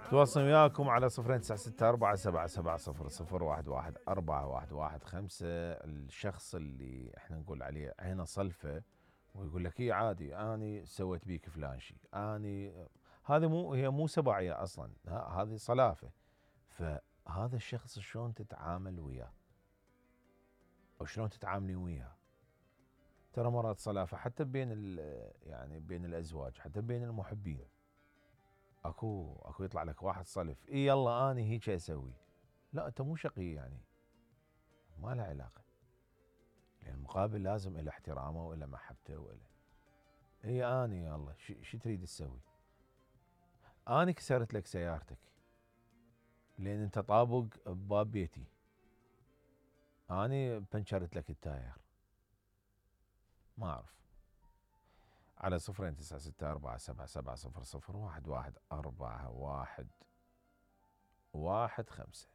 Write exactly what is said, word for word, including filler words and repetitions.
تواصل وياكم على صفرين تسعة ستة أربعة سبعة سبعة صفر صفر واحد واحد أربعة واحد واحد خمسة. الشخص اللي احنا نقول عليه عينه صلفة ويقول لك اي عادي اني سويت بيك فلان شيء، اني هذه مو هي مو سبعية اصلا، هذه صلافة. فهذا الشخص شلون تتعامل وياه او شلون تتعاملين وياه؟ ترى مرات صلافة حتى بين يعني بين الازواج، حتى بين المحبين. اكو اكو يطلع لك واحد صلف، اي يلا اني هيك اسوي. لا انت مو شقي يعني، ما له علاقه. لان المقابل لازم له احترامه وله محبته وله. اي اني يلا شو تريد تسوي؟ اني كسرت لك سيارتك لان انت طابق بباب بيتي، اني بنشرت لك التاير. ما اعرف. على صفرين تسعة ستة أربعة سبعة سبعة صفر صفر واحد واحد أربعة واحد واحد خمسة.